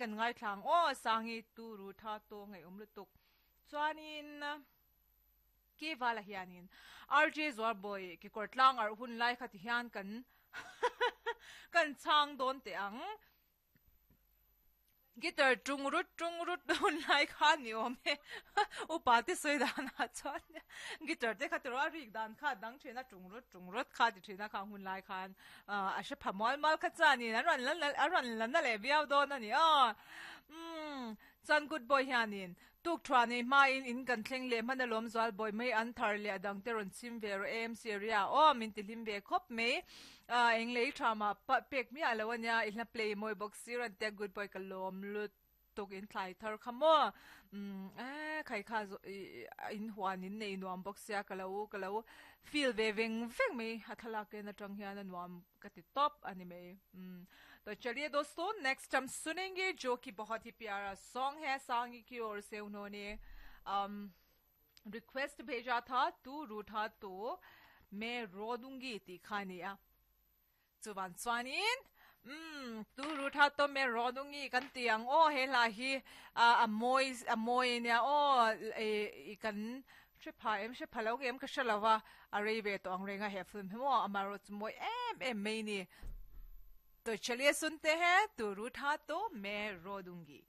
Kan ngaithla ang aw Sangi tu ru tha to ngaihawm lutuk. Chuanin Ki vala hianin RJ Zualbawi kekawr tlang arh hun lai kha ti hian kan kan chhang dawn teh ang. Guitar tung rut tung rut hun lai kha ni awm e. Upa te sawi danah chuan guitar te kha tiraw a rik dan kha a dang thin a tung rut tung rut kha ti thin a khang hun lai khan a hre pha mual mual kha chuanin an rawn la a rawn la na leh viau dawn a ni aw. Umm chuan good boy hianin Tuk thuah nei hmain in kan thleng leh hman alawm zual bawi mai an thar leh a dang te rawn chim ve rawh em Syria aw min ti hlim ve khawp mai ah eng lei tha mah pek miah lo ania i hla play mawi bawk si rawn tia good boy ka lawm lutuk in thlai thar kha maw umm eh khai kha in huan in nei nuam bawk sia ka lo ka lo feel ve veng veng mai a thlalak en atang hian a nuam ka ti tawp a ni mai umm To chaliye dosto next hum sunenge jo ki bahut hi pyara song hai Sangi ki or se unhone um request bheja tha tu rutha to main ro dungi tih kha a ni a chuvan chuanin umm tu rutha to main ro dungi kan ti ang aw he hla hi a mawi a mawi ania aw eh kan hre pha em hre pha lo em ka hre lo va a rei ve tawh ang reng a he film hi maw amaherawhchu chu mawi em em mai a ni to chaliye sunte hai tu rutha to main ro dungi.